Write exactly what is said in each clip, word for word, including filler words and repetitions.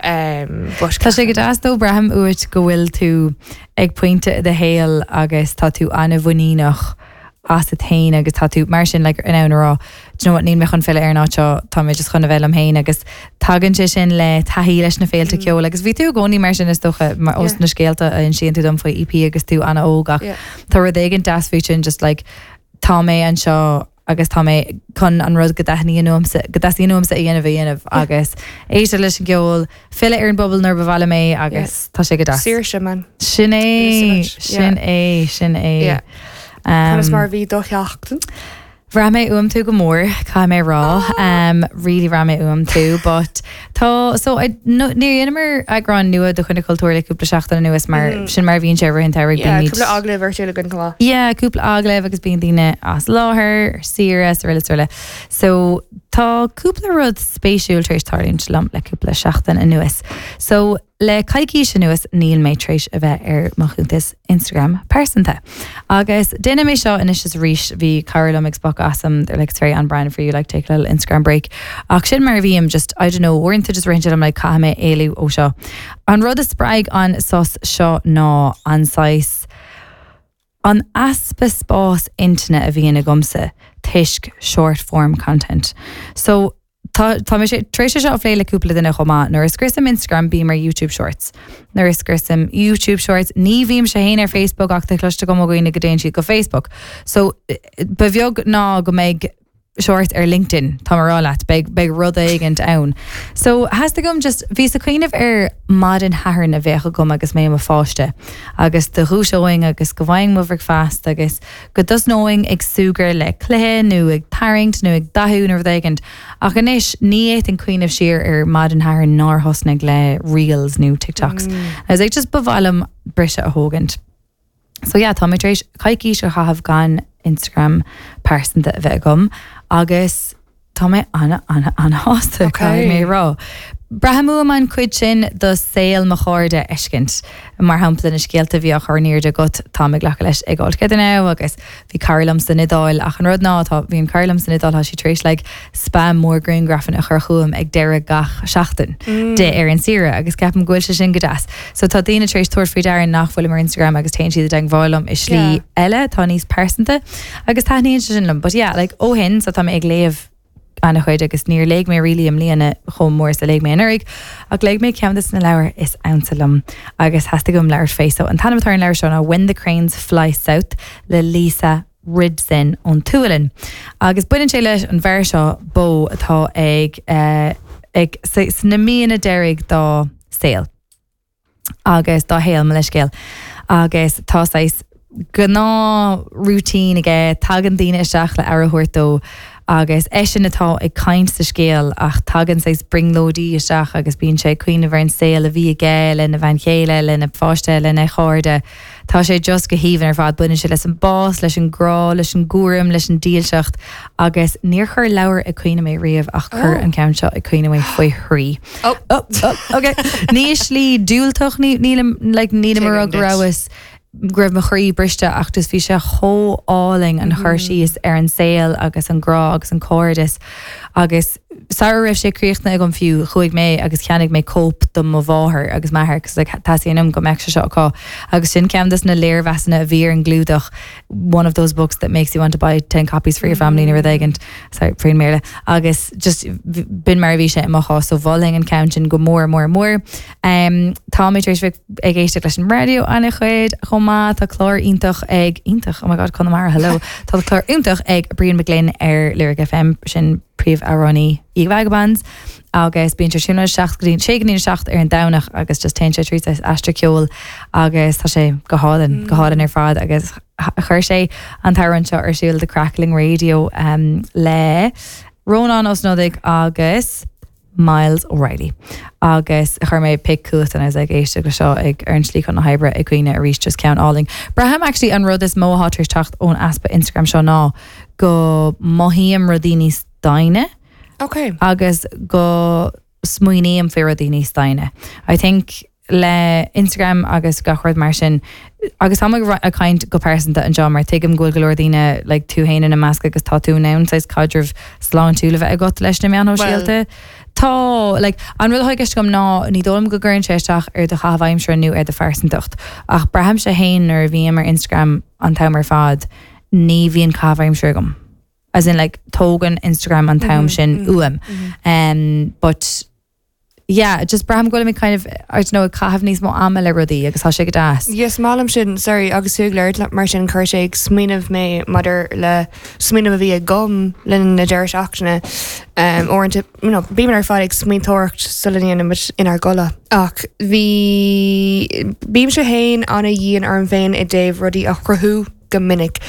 Um, but Tá sé go deas dó braithim uait go bhfuil tú ag pointe i do shaol agus tá tú an-mhuiníneach asat féin agus tá tú mar sin like, in ann rá "Do you know what, níl mé chun filleadh ar an áit seo tá mé just chun a bheith liom féin agus tagann sé sin le taithí leis na féilte mm. ceoil agus bhí tú i gcónaí mar sin is dócha mar os Yeah. na scéalta a insíonn tú dom faoi EP agus tú an-óg ach Yeah. tá rud éigin deas faoi sin just like tá mé anseo agus tá mé chun an rud go dtaitníonn liomsa go dtaitníonn liomsa a dhéanamh a dhéanamh agus éisteacht leis an gceol filleadh ar an bpobal nuair ba mhaith liom é agus tá sé go deas. Saoirse man. Sin é Saoirse, sin é sin é. Yeah. Um, Conas mar bhí do sheachtain. Bhraith mé uaim tú go mór caithfidh mé rá um, really bhraith mé uaim tú, but tá so I, no, ní dhéanamar eagrán nua de Choinne Cultúir le cúpla seachtain anuas mar mm. sin mar bhíonn sé roimh an Yeah, cúpla agallamh virtual againn chomh maith. Yeah, cúpla agallamh agus bíonn daoine as láthair, saoire araile araile. So tá cúpla rud spéisiúil tar éis tarlúint liom le cúpla seachtain anuas. So le coicís anuas níl mé tar éis a bheith ar mo chuntas Instagram pearsanta. Agus déanaim é seo anois is arís bhí cara liom ag spochadh asam they're like it's very on brand for you like take a little Instagram break. Ach sin mar a bhím just I don't know uaireanta just ritheann like caithfidh mé éalú ó seo. An rud a spreag an sos seo ná an saghas an easpa spás intinne a bhíonn agamsa toisc short form content. So tá tá mé sé tar éis seo a phlé le cúpla duine chomh maith nuair a scriosaim Instagram bím ar YouTube Shorts. Nuair a scriosaim YouTube Shorts ní bhím sé féin ar Facebook ach tá cloiste agam ó dhaoine go dtéann siad go Facebook. So eh, ba bheag ná go mbeidh short ar LinkedIn tá rá leat beidh beidh rud éigin ann. So theastaigh uaim just bhíos ag cuimhneamh ar maidin Shathairn a bheadh agam agus mé i mo pháiste agus do dhúiseoinn agus go bhfaighinn mo bhricfeasta agus go dtosnóinn ag súgradh le cluiche nó ag tarraingt nó ag dathú nó rud éigin. Ach anois ní fhéadfainn cuimhneamh siar ar maidin Shathairn nár thosnaigh le reels nó TikToks. Mm. I was like just ba mhaith liom briseadh a thógaint. So yeah, tá mé tar éis coicís a chaitheamh gan Instagram pearsanta a bheith agam agus tá mé ana ana ana-shásta Okay. mé rá. Braithim uaim an chuid sin do saol mo chairde a fheiscint. Mar shampla na scéalta bhí á chur in airde agat tá ag glacadh leis ag All Together Now agus bhí cara liom san Iodáil ach an rud ná tá bhí an cara liom san Iodáil tá sí tar éis like, spam mór grianghrafanna a chur chugam ag deireadh gach seachtain mm. de ar an saoire agus ceapaim go bhfuil sé sin go deas. So tá daoine tar éis tabhairt faoi deara nach bhfuilim ar Instagram agus téann siad i dteagmháil liom i slí Yeah. eile tá níos pearsanta agus taitníonn sé sin liom. But yeah, like, ó shin so tá mé ag léamh an-chuid agus níor léigh mé really i mbliana chomh mór is a léigh mé anuraidh ach léigh mé ceann de na leabhair is ansa liom agus theastaigh uaim labhairt fé so an t-ainm atá ar an leabhar seo ná When the Cranes Fly South le Lisa Rydén ón tSualainn. Agus baineann sé leis an bhfear seo Bo atá ag uh, ag sna míonna deiridh dá saol. agus dá shaol mo leithscéal. Agus tá saghas gnáth routine aige tagann daoine isteach le aire a thabhairt dó agus eisean atá ag caint sa scéal ach tagann saghas brionglóidí isteach agus bíonn sé cuimhneamh ar an saol a bhí aige lena bhean chéile lena pháiste lena chairde. Tá sé just go haoibhinn ar fad baineann sé leis an bás, leis an grá, leis an gcúram, leis an dílseacht agus níor chuir leabhar ag caoineadh mé riamh ach chuir Oh. an ceann seo ag caoineadh mé faoi thrí. Oh. Oh, oh, okay. Ní slí diúltach ní nílim like, nílim Tuigim rá go duit. rabhas go raibh mo chroí briste ach just bhí sé chomh álainn an chur síos ar an saol agus an grá agus an cairdeas agus sara raibh sé críochnaithe agam fiú chuaigh mé agus cheannaigh mé cóip do mo mháthair agus m'athair cos like, teastaíonn uaim go mbeadh sé seo acu agus sin ceann des na léirmheasanna a bhí ar an gclúdach one of those books that makes you want to buy ten copies for your family mm. rud éigin sorry faoin mBéarla agus just b'in mar a bhí sé i mo chás so mholfainn an ceann sin go mór mór mór. Um, tá mé tar éis bheith ag éisteacht leis an raidió an-chuid chomh maith tá clár iontach ag iontach oh my god Conamara hello Tá clár iontach ag Brian McGlynn ar Lyric FM sin príomhamhránaí Vagabonds agus bíonn sé siúna seach go sé go seacht ar an Domhnach agus just téann sé trí aistear ceoil agus tá sé go hálainn go hálainn ar fad agus chuir sé an t-amhrán seo ar siúl The Crackling Radio um, le Rónán Ó Snodaigh agus Miles O'Reilly. Agus chuir mé pic chugat and I was like éisteacht le seo ag ar an slí chun na hoibre ag caoineadh arís just ceann álainn. Braithim actually an rud is mó atá tar éis teacht ón easpa Instagram seo ná go mothaím rudaí níos doimhne Okay. agus go smaoiním faoi rudaí níos doimhne. I think le Instagram agus gach rud mar sin agus tá ag caint go pearsanta anseo mar tuigim go bhfuil go leor daoine like, tú féin ina measc agus tá tú in ann saghas caidreamh sláintiúil a bheith agat leis na meáin shóisialta. Tá like, an rud atá i gceist agam ná ní dóigh liom go gcuireann sé isteach ar do chaitheamh aimsire nó ar do phearsantacht ach braithimse féin nuair a bhím ar Instagram an t-am ar fad ní bhíonn caitheamh aimsire agam. As in like tógann Instagram an t-am sin uaim. Um, but yeah, just braithim go bhfuil mé kind of I don't know ag caitheamh níos mó ama le rudaí agus tá sé go deas. Yes malam sin sorry agus tú ag labhairt mar sin chuir sé ag smaoineamh mé maidir le smaoineamh a bhí agam le na deireadh seachtaine um, uaireanta you know, bímid ar fad ag smaointeoireacht sula ndéanaimid inár gcodladh. Ach bhí bímse féin an-dhian orm féin i dtaobh rudaí a chruthú go minic.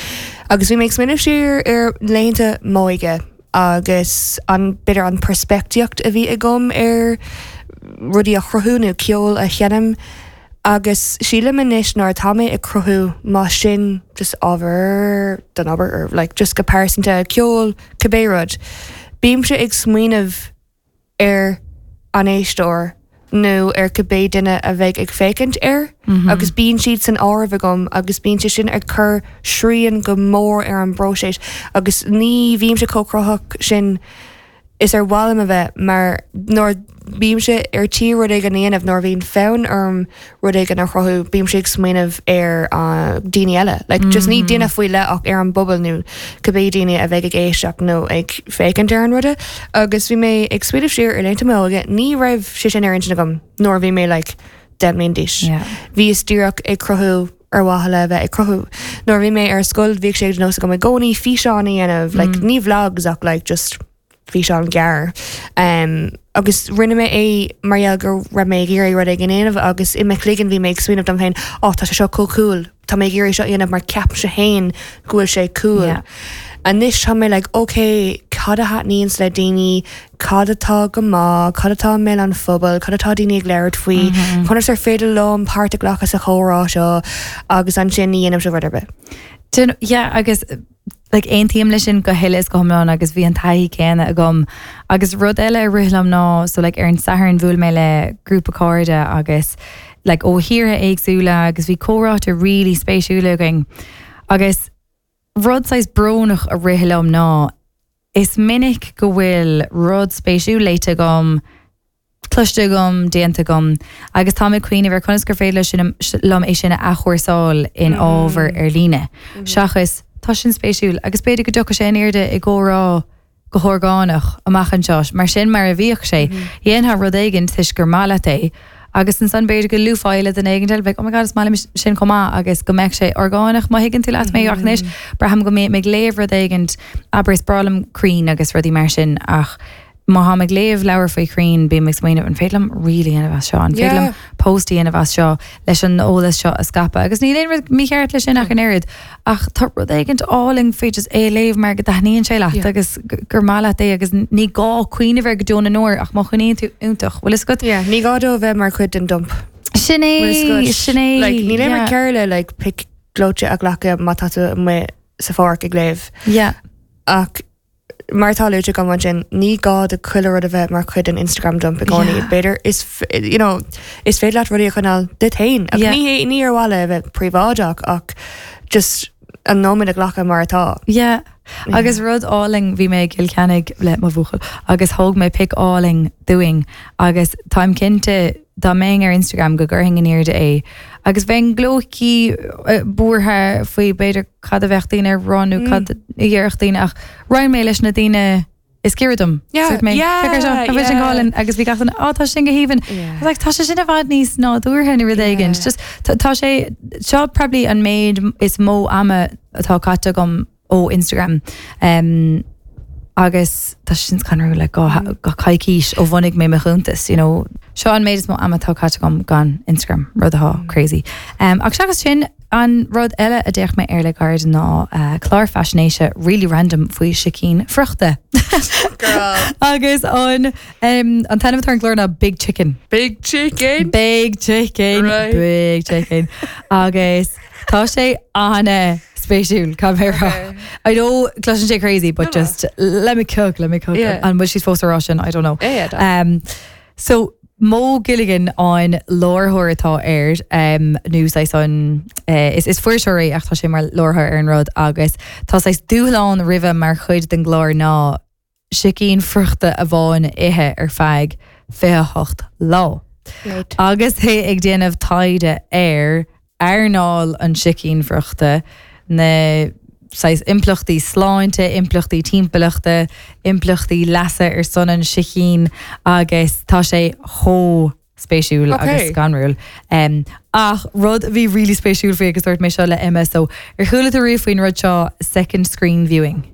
Agus bhí mé ag smaoineamh siar ar laethanta m'óige agus an b'fhéidir an peirspictíocht a bhí agam ar rudaí a chruthú nó ceol a sheinm agus sílim anois nuair atá mé ag cruthú má sin just ábhar don obair or like just go pearsanta ceol cibé rud. Bímse ag smaoineamh ar an éisteoir nó ar cibé duine a bheidh ag féachaint air agus bíonn siad san áireamh agam agus bíonn sé sin ag cur srian go mór ar an bpróiseas agus ní bhímse chomh cruthaitheach sin is ar mhaith liom a bheith mar nuair bímse ar tí rud éigin a dhéanamh nuair a bhíonn fonn orm rud éigin a chruthú bímse ag smaoineamh ar uh, daoine eile. Like, just ní duine faoi leith ach ar an bpobal nó cibé daoine a bheidh ag éisteacht nó ag féachaint ar an ruda. Agus bhí mé ag smaoineamh siar ar laethanta m'óige, ní raibh sé sin ar intinn agam nuair a bhí mé like, deich mbliana d'aois. Yeah. Bhíos díreach ag cruthú ar mhaithe le bheith ag cruthú. Nuair a bhí mé ar scoil bhíodh sé de nós agam i gcónaí físeán a dhéanamh, like, ní vlogs ach like, just físeán gearr. Um, agus rinne mé é mar gheall go raibh mé ag iarraidh rud éigin a dhéanamh agus i mo chloigeann bhí mé ag smaoineamh dom féin, "Ó tá sé seo chomh cool, Tá mé ag iarraidh seo a dhéanamh mar ceapaimse féin go bhfuil sé cool. Yeah. Anois tá mé like, okay, cad a thaitníonns le daoine, cad atá go maith, cad atá i mbéal an phobail, cad atá daoine ag labhairt faoi, conas ar féidir liom páirt a ghlacadh sa chomhrá seo agus ansin ní dhéanaimse rud ar bith. Dun- yeah, agus like aontaím leis sin go huile is go hiomlán agus bhí an taithí céanna agam agus rud eile a rith liom ná so like ar an Satharn bhuail mé le grúpa cairde agus like ó thíortha éagsúla agus bhí comhráite really spéisiúla againn agus rud saghas brónach a rith liom ná is minic go bhfuil rud spéisiúil léite agam cloiste agam déanta agam agus tá mé ag cuimhneamh ar conas gur féidir sin liom é sin a athchúrsáil in ábhar ar líne. Seachas tá sin spéisiúil agus b'fhéidir go dtiocfaidh sé in airde i gcomhrá go horgánach amach anseo, mar sin mar a bhíodh sé, dhéanfá rud éigin toisc gur maith leat é, agus ansan b'fhéidir go luafá le duine éigin eile, oh my God is maith liom sin chomh maith agus go mbeadh sé orgánach má thuigeann tú leat mé ach anois braithim go mbeidh mé ag léamh rud éigin abair is breá liom crainn agus rudaí mar sin ach má tháim ag léamh leabhar faoi chrainn bím ag smaoineamh an féidir liom reel a dhéanamh as seo, an féidir liom Yeah. post a dhéanamh as seo leis an eolas seo a scaipeadh agus níl aon rud mícheart leis sin ach an oiread ach tá rud éigin álainn faoi just é a léamh mar go dtaitníonn sé leat Yeah. agus gur maith leat é agus ní gá cuimhneamh air go deo na ndeor ach má chuimhníonn tú iontach bhfuil fhios agat? Yeah, ní gá dó bheith mar chuid den dump. Sin é sin é Like, níl aon yeah. rud cearr le like, pic gleoite a ghlacadh má tá tú amuigh sa pháirc ag léamh. Yeah. Ach mar tá luaite agam ansin ní gá do chuile rud a bheith mar chuid den Instagram dump i gcónaí. Yeah. B'fhéidir is f- you know, is féidir leat rudaí a choinneáil duit féin. Ach Yeah. ní hé- ní ar mhaith le bheith príobháideach ach just an nóiméad a ghlacadh mar atá. Yeah. Agus rud álainn bhí mé i gCill Chainnigh le mo bhuachaill agus thóg mé pic álainn dúinn agus táim cinnte dá mbeinn ar Instagram go gcuirfinn in airde é. Agus bheinn gleoite buartha faoi b'fhéidir cad a bheadh daoine ag rá nó cad a dhéarfadh daoine ach roinn mé leis na daoine is giorra dom. Yeah, Dúirt mé, yeah, "Féach air seo, tá sin yeah. go hálainn," agus bhí gach duine, "Á, tá sin go haoibhinn. Yeah. I was like, tá sé sin i bhfad níos nádúrtha nó rud éigin. Yeah. Just tá tá sé seo probably an méid is mó ama atá caite agam ó Instagram. Um, agus tá sin scanrúil le go go coicís ó bhunaigh mé mo chuntas, you know. Seo an méid is mó ama atá caite agam gan Instagram, rud atá crazy. Um, ach seachas sin an rud eile a d'fhéach mé ar le gairid ná uh, clár faisnéise really random faoi sicín friochta. Girl. Agus an um, an t-ainm atá ar an gclár ná Big Chicken. Big chicken. Big chicken, Right. big chicken. Agus tá sé ana spéisiúil cad mé rá. Okay. I know cloiseann sé crazy, but No, no. just let me cook, let me cook. Yeah. And was she supposed to Russian? I don't know. Yeah, yeah, Um, so Mo Gilligan an láithreoir atá air um, nó saghas an uh, is, is fuirseoir é ach tá sé mar láithreoir ar an rud agus tá saghas dúshlán roimhe mar chuid den gclár ná sicín friochta amháin a ithe ar feadh fiche hocht lá. Right. Agus é ag déanamh taighde ar earnáil an sicín friochta, na saghas impleachtaí sláinte, impleachtaí timpeallachta, impleachtaí leasa ar son an sicín agus tá sé chomh spéisiúil Okay. agus scanrúil. Um, ach rud a bhí really spéisiúil faoi agus dúirt mé seo le Emma, so ar chuala tú riamh faoin rud seo second screen viewing.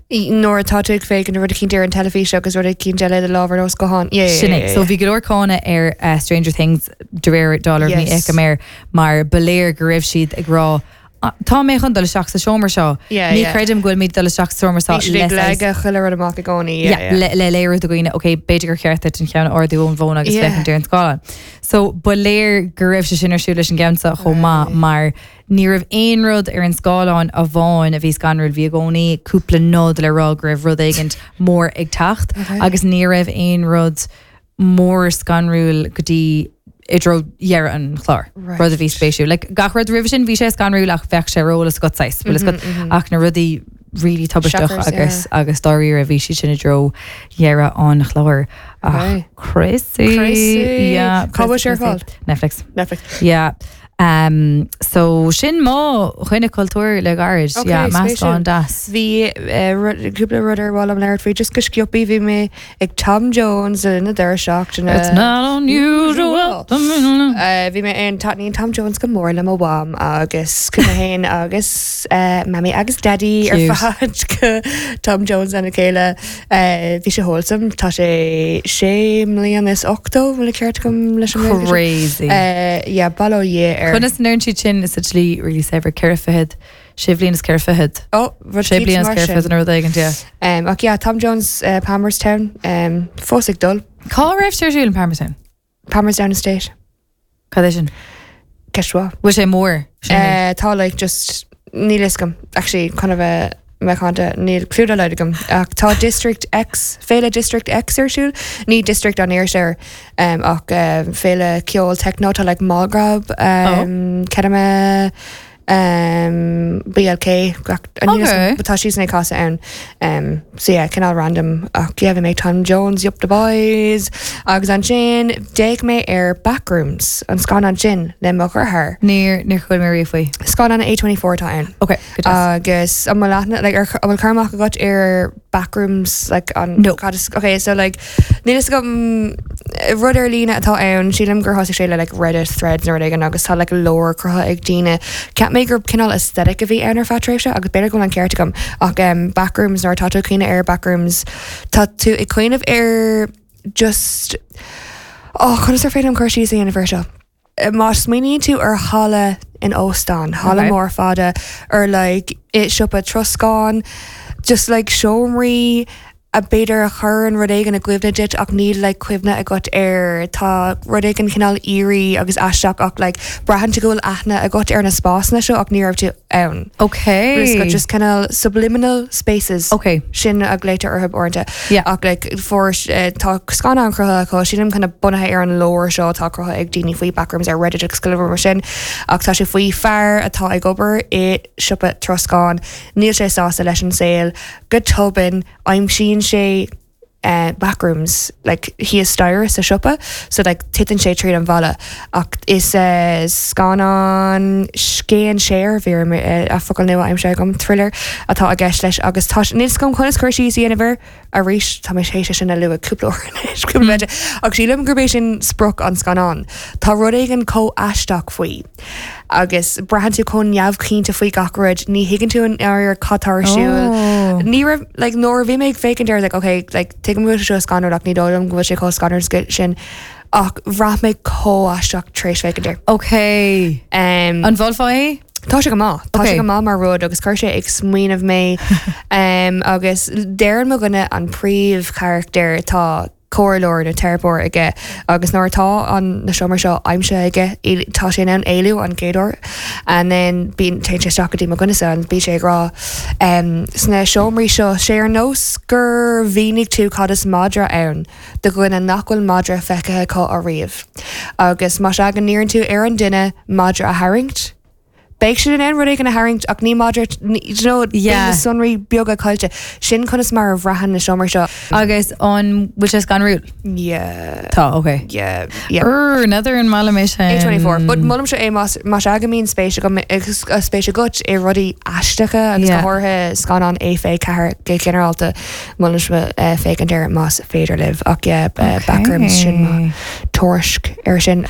Nuair atá tú ag féachaint ar rud eicínt ar an teilifís agus rud eicínt eile i do lámh ar nós guthán. Yeah, yeah, Sin yeah, é. yeah, So bhí go leor cáineadh ar uh, Stranger Things de réir dealraimh ní Yes. fheicim air mar ba léir go raibh siad ag rá "Ah, Tá mé chun dul isteach sa seomra seo. Yeah, Ní yeah. creidim go bhfuil mé dul isteach sa seomra seo Bhí siad ag le saghas- leagadh chuile rud amach i gcónaí. Yeah, Yeah, yeah. le le léiriú do dhaoine, ok, b'fhéidir gur cheart duit an ceann a ardú ón bhfón agus Yeah. féachaint ar an scáileán. So ba léir go raibh sé sin ar siúl leis an gceann seo chomh maith mar ní raibh aon rud ar an scáileán amháin a bhí scanrúil bhí i gcónaí cúpla nod le rá go raibh rud éigin mór ag teacht Okay. agus ní raibh aon rud mór scanrúil go dtí i dtreo dheireadh an chláir. Right. Rud a bhí spéisiúil. Like, gach rud roimhe sin bhí sé scanrúil ach bheadh sé ar eolas agat saghas, bhfuil fhios agat, ach na rudaí really tubaisteach Shockers, agus agus dáiríre bhí siad sin i dtreo dheireadh an chláir. Ach Okay. crazy. Crazy. Yeah, Cá bhfuil sé ar crazy. fáil? Netflix. Netflix. Yeah. Um, so sin mo choinne cultúr le gairid. Okay, yeah, meascán spéisiúil. deas. Bhí eh, rud- cúpla rud ar mhaith liom labhairt faoi just go sciobtha bhí mé ag Tom Jones na deireadh seachtaine. It's not unusual. Uh, bhí mé an taitníonn Tom Jones go mór le mo mham agus chuaigh mé féin agus uh, Mami agus Daddy ar Cute. fad go Tom Jones lena chéile uh, bhí sé wholesome tá sé sé mbliana is ochtó bhfuil ceart agam leis an Ghaeilge sin? Crazy. Uh, yeah, bail ó Dhia ar Conas ndeireann siad sin is slí really saibhir ceithre fichead sé bliana is ceithre fichead. oh, rud Sé cíos bliana is mar ceithre sin. fichead an rud éigin, yeah. Um, ach yeah, Tom Jones uh, Palmerstown um, fós ag dul Cá raibh sé ar siúl in Palmerstown? Palmerstown Estate Cad é sin? Ceist mhaith. Bhfuil sé mór? Sin é. Uh, tá like just níl fhios agam actually kind of a mecanta níl clue dá laghad agam ach tá District X féile District X ar siúl ní District an Iarthar um, ach um, féile ceol techno tá like Mallgrab um, Kedama um, BLK gach- níl fhios Okay. agam, but tá sí ag casadh ann um, so yeah cineál random ach yeah, bhí mé Tom Jones Yup the Boys agus ansin d'fhéach mé ar Backrooms an scannán sin le mo dheartháir Níor níor chuala mé riamh faoi. Scannán A twenty four atá ann. Okay, good deas. Agus an bhfuil aithne like, ar an bhfuil cur amach agat ar backrooms like an No. cad is- okay so like níl fhios agam rud ar líne atá ann sílim gur thosaigh sé le like Reddit threads nó rud éigin agus tá like lore cruthaithe ag daoine Ceap mé gur cineál aesthetic a bhí ann ar feadh tréimhse agus b'fhéidir go bhfuil an ceart agam ach um, backrooms nuair atá tú ag cuimhneamh ar backrooms tá tú ag cuimhneamh ar just oh, conas ar féidir liom cur síos a dhéanamh air seo. Má smaoiníonn tú ar halla in óstán, halla Okay. mór fada ar like i siopa troscán, just like seomraí a b'fhéidir a chuireann rud éigin i gcuimhne duit ach níl like cuimhne agat air tá rud éigin cineál eerie agus aisteach ach like braitheann tú go bhfuil aithne agat ar na spásanna seo ach ní raibh tú ann. Okay. Gus just cineál subliminal spaces. Okay. Sin a glaoitear orthu uaireanta. Yeah. Ach like for uh, tá scannán cruthaithe acu sílim kind of bunaithe ar an lore seo atá cruthaithe ag daoine faoi backrooms ar Reddit agus go leor mar sin ach tá sé faoi fear atá ag obair i siopa troscán níl sé sásta leis an saol go tobann aimsíonn sé uh, backrooms like thíos staighre sa siopa so like titeann sé tríd an bhalla ach is uh, scannán scéinséir bhí uh, a focal nua aimsithe agam thriller atá i gceist leis agus tá níl fhios agam conas cur síos a dhéanamh air arís tá mé sé sin a lua cúpla uair anois, cúpla mm. ach sílim gurb é sin sprioc an scannán Tá rud éigin chomh aisteach faoi agus braitheann tú chomh neamhchinnte faoi gach rud ní thuigeann tú an ar cad atá ar siúl Oh. Ní raibh like nuair a bhí mé ag féachaint air like okay like tuigim go bhfuil sé seo scanrúil ach ní dóigh liom go bhfuil sé chomh scanrúil sin ach bhraith mé chomh aisteach tar éis féachaint air. Okay. Um, An mholfá é? Tá sé go maith Tá Okay. sé go maith mar rud agus chuir sé ag smaoineamh mé um, agus deireann mo dhuine an príomhcharachtar tá comhairleoir nó teiripeoir aige agus nuair atá an na seomraí seo aimsithe aige éil- tá sé in ann éalú an chéad uair and then bíonn téann sé isteach go dtí mo dhuine an bíonn sé ag rá um, sna seomraí seo sé ar nós gur mhínigh tú cad is madra ann do dhuine nach bhfuil madra feicthe acu ariamh. Agus má sea go n-iarrann tú ar an duine madra a tharraingt, Beidh siad in ann rud éigin a tharraingt ach ní maidir you know, Yeah. na sonraí beaga caillte sin conas mar a bhraitheann na seomra seo. Agus an bhfuil sé scanrúil? Yeah. Tá, okay. Yeah. Yeah. Er, another an maith liom é sin. A twenty-four, but molaimse é más más ea go mbíonn spéis agam agus spéis agat i rudaí aisteacha agus Yeah. go háirithe scannán A fiche ceathair go ginearálta molaimse uh, féachaint air más féidir libh ach yeah, uh, Backrooms sin mo tuairisc ar sin.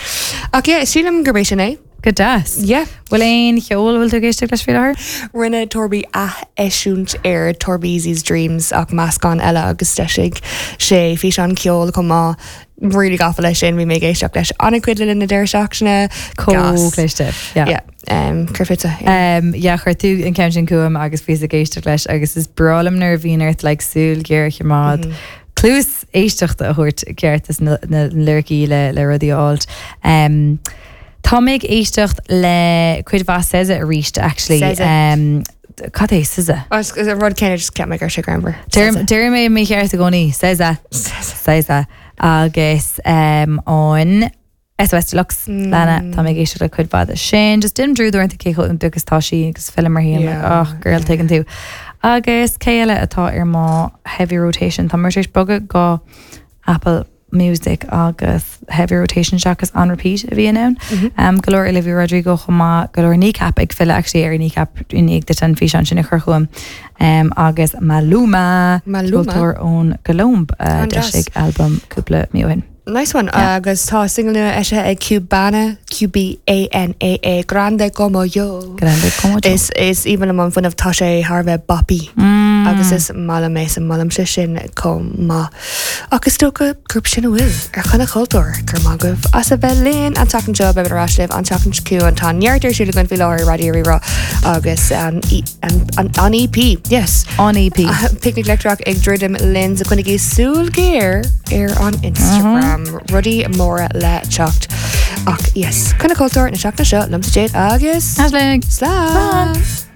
Ach yeah, sílim gurb é sin é. Go deas. Yeah. Bhfuil aon cheol bhfuil tú ag éisteacht leis faoi láthair? Rinne Torby ath-eisiúint ar Torbeezy's Dreams ach meascán eile agus d'eisigh sé físeán ceol chomh maith really gafa leis sin bhí mé ag éisteacht leis an-chuid le na deireadh seachtaine. Chomh cliste. Yeah. Yeah, um, chuirfeadh. Yeah. Um, yeah, chuir tú an ceann sin chugam agus bhíos ag éisteacht leis agus is breá liom nuair a bhíonn ort like, súil ghéar a choimeád. Mm -hmm. Cluas éisteachta a thabhairt ceart is na, na lyricí le le rudaí alt. Um, Tá mé ag éisteacht le cuid mhaith SZA arís actually. SZA. Um, Cad é SZA? Is an rud céanna just ceap mé gur sé grammar. Deir mé mícheart i gcónaí SZA SZA agus um, an S O S Deluxe mm. Lana tá mé ag éisteacht le cuid mhaith sin, just dim drúúnta cé agus tá sí agus film mar hí Yeah, ach girl tuigeann tú. Agus cé eile atá ar mo heavy rotation tá mar éis bogadh go Apple Music agus heavy rotation seachas on repeat a bhí ann. Um, go leor Olivia Rodrigo chomh maith go leor Kneecap ag filleadh actually ar Kneecap i ndiaidh duit an físeán sin a chur chugam. Um, agus Maluma Maluma. ceoltóir ón gColóim uh, An-deas. d'eisigh album cúpla mí ó shin. Nice one. Yeah. Agus tá single nua eisithe ag Cubana Q B A N A A Grande Como Yo. Grande Como Yo. Is is even am fuinneamh tá sé thar bheith boppy. Mm. Agus is maith liom é san molaimse sin chomh maith. Agus dócha gurb sin a bhfuil ar Choinne Chultúir go raibh maith agaibh as a bheith linn an tseachtain seo beimid ar ais libh an tseachtain seo chugainn tá neart ar siúl againn faoi láthair Raidió Rí-Rá agus an, E- an, an, an E P yes. An E P. Picnic Leictreach ag druidim linn so coinnigí súil géar ar an Instagram rudaí móra le teacht ach yes Coinne Cultúir na seachtaine seo liomsa Jade agus Aisling. Slán! Slán.